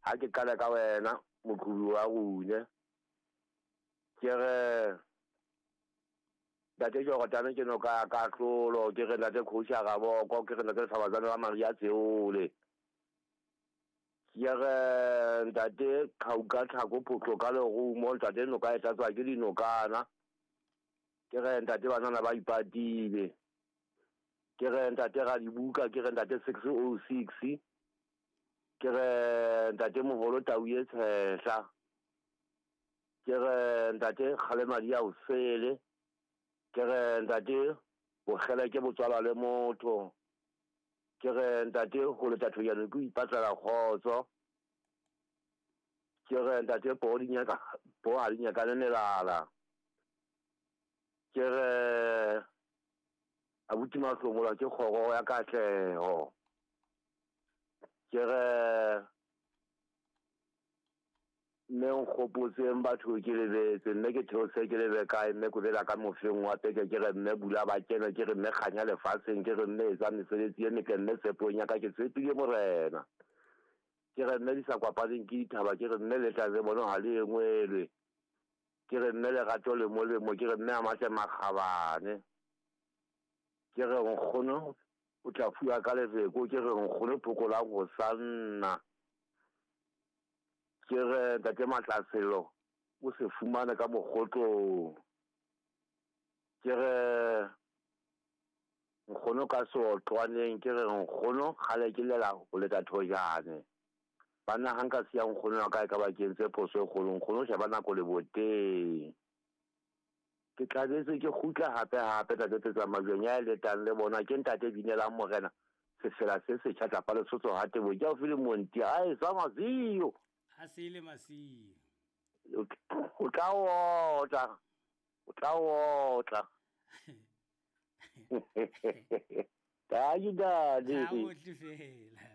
Ha ke qale ka wena moqhubi wa rune. Ke re Ntate Jordan ke noka ya kahlolo, ke re Ntate Kgoši Raboko, ke re Ntate Lefabatsane la Maria Tseole. Ke re Ntate Qhauka Tlhako Photlo ka lerumo, Ntate noka e tlatswa ke dinokana. Ke re Ntate banana ba ipatile. Ke re Ntate Radibuka, ke re Ntate 606. Ke re Ntate Moholo Tau e Tshehla. Ke re Ntate Kgalemadi ya Osele. Ke re Ntate Bokgeleke bo tswalwa le motho. Ke re Ntate ho leta thojane ke ho ipatlela kgotso. Ke re Ntate poo di nyaka poo ha di nyakane melala. Ke re abuti Mahlomola ke kgoro ya katleho. Ke re Mme nkgopotseng batho ke lebetse, mme ke theose ke lebe kae, mme kobela ka mofeng wa peke, ke re mme bula ba kene, ke re mme kganya lefatsheng, ke re mme etsa mesebetsi e metle, mme tshepong ya ka ke tshepile Morena. Ke re mme di sa kwapaneng ke dithaba, ke re mme le tla le bono ha le engwelwe. Ke re mme lerato le molemo, ke re mme a matle makgabane. Ke re nkgono o tla fuwa ka lefeko, ke re nkgono phokolang ho sanna. Ke re Ntate Matlaselo o se fumane ka mokgotlong. Ke re nkgono ka seotlwaneng, ke re nkgono kgale ke lela ho leta thojane. Banna ha nka siya nkgono wa ka e ka ba ke entse phoso e kgolo. Nkgono sheba nako leboteng. Ke tlabetse ke kgutla hape hape Ntate Tsetsa Majweng ya e letang le bona ke Ntate Binelang Morena sefela se setjha tlapa Lesotho ha Tebo ke haufi le Monti a e sa masiyo. A se le masiyo. O tla otla. O tla otla. Thank you, Daddy. Ha o tle fela.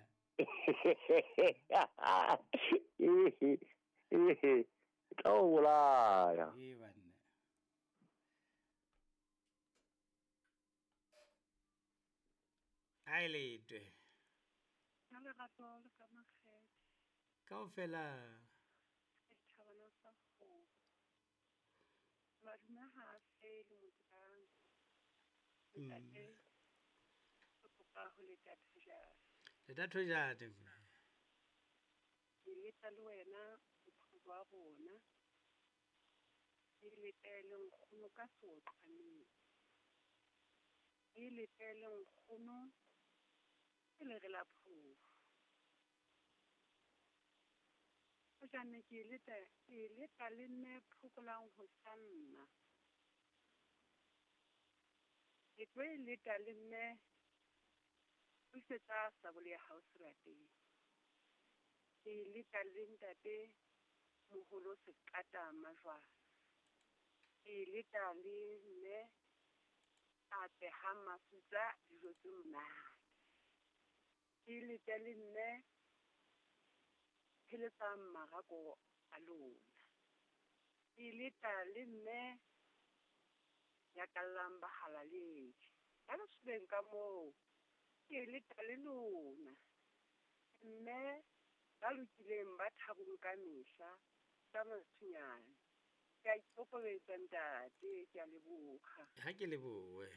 Tla o bolaya. Ee banna. A e letwe. Ka lerato le ka makgethe. Kaofela. Setjhabana sa kgomo. Madume ha a fele motsang. Ntate o kopa ho leta thojane. Leta thojane mme. Ke leta le wena moqhobi wa rona. Ke letele nkgono ka seotlwaneng. Ke letele nkgono ke lere la phofu. Hojane ke leta ke leta le mme phokolang ho sanna. Ke tlo e leta le mme busetsa sabole ya hao serapeng. Ke leta le ntate moholo Seqata Majwala. Ke leta le mme a behang mafutsa dijo tse monate. Ke lete le mme pheletsang marako a lona. Ke leta le mme nyakallang bahalaledi. Ka lesobeng ka moo, ke leta le lona. Mme ba lokileng ba thabong ka mehla, ka matsunyane. Ke a ikokobetsa ntate, ke a leboha. Ha ke lebohe.